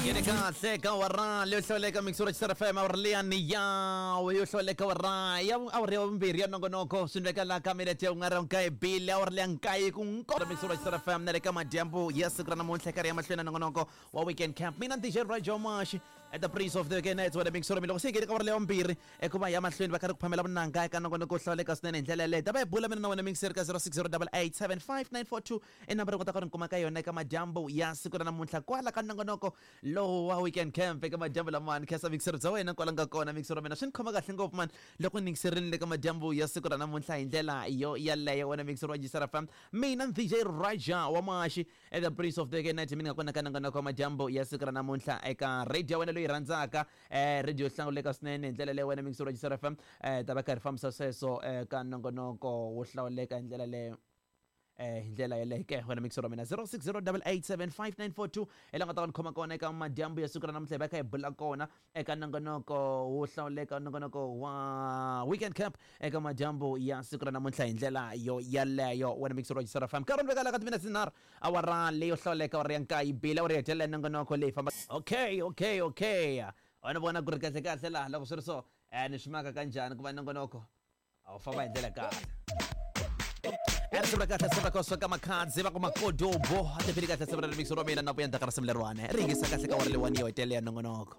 Ngene kahle ka awara leyo hlawuleka mixura Xisara FM awara liyani yawe yo hlawuleka awara ya awara ya vumbirhi ya nongonoko swi ndleka laha ka minete ya un'we ra nkaye bile awara leya nkaye ku nko mixura Xisara FM na le ka madyambu ya siku ra namuntlha karhi ya mahlweni na nongonoko wa weekend camp mina DJ Rajo Mashi at the prince of the weekend nights wena mixura mi loko se hi nghene ka awara leya vumbirhi eku va ya mahlweni va karhi ku phamela vunanga eka nongonoko wo hlawuleka swinene hi ndlela yaleyo ta va hi bula mina na wena mixeri ka 0608875942 i nambara yo kota ku ri kuma ka yona eka madyambu ya siku ra namuntlha kwala ka nongonoko lowu wa weekend camp eka madyambu lamawani khensa mixero bya wena kwala nga kona mixero wa mina swi ni khoma kahle ngopfu mani loko ni yingiserini le ka madyambu ya siku ra namuntlha hi ndlela yo yaleyo wena mixero wa jisara fam mina DJ Raja wa Mashi at the prince of the night mina nga kona ka nongonoko wa madyambu ya siku ra namuntlha eka radio ya wena loyi rhandzaka radio yo hlawuleka swinene hi ndlela leyo wena mixero wa jisara fam ta va karhi fambisa sweswo ka nongonoko wo hlawuleka hi ndlela leyo hi ndlela yeleyo ke wena mixero wa mina 0608875942 hi la nga ta va ni khoma kona eka madyambu ya siku ra namuntlha hi va kha hi bula kona eka nongonoko wo hlawuleka nongonoko wa weekend camp eka madyambu ya siku ra namuntlha hi ndlela yo yaleyo wena mixero wa Jisara FM nkarhi vekala ka timinetse tinharhu awara leyo hlawuleka awara ya nkaye bile awara ya hetelela nongonoko leyi famba okay okay okay wena vona ku ri kahle kahle laha loko swi ri so ni swi maka kanjhani ku va nongonoko a wu famba hi ndlela kahle risimu ra kahle simu ra koswa ka makhadzi va ku makodobo a tiphili kahle simu ra remix ra mina na vuya ndzhaku ka risimu leriwani ri yingisa kahle ka wari leyiwani yo hetelela ya nongonoko.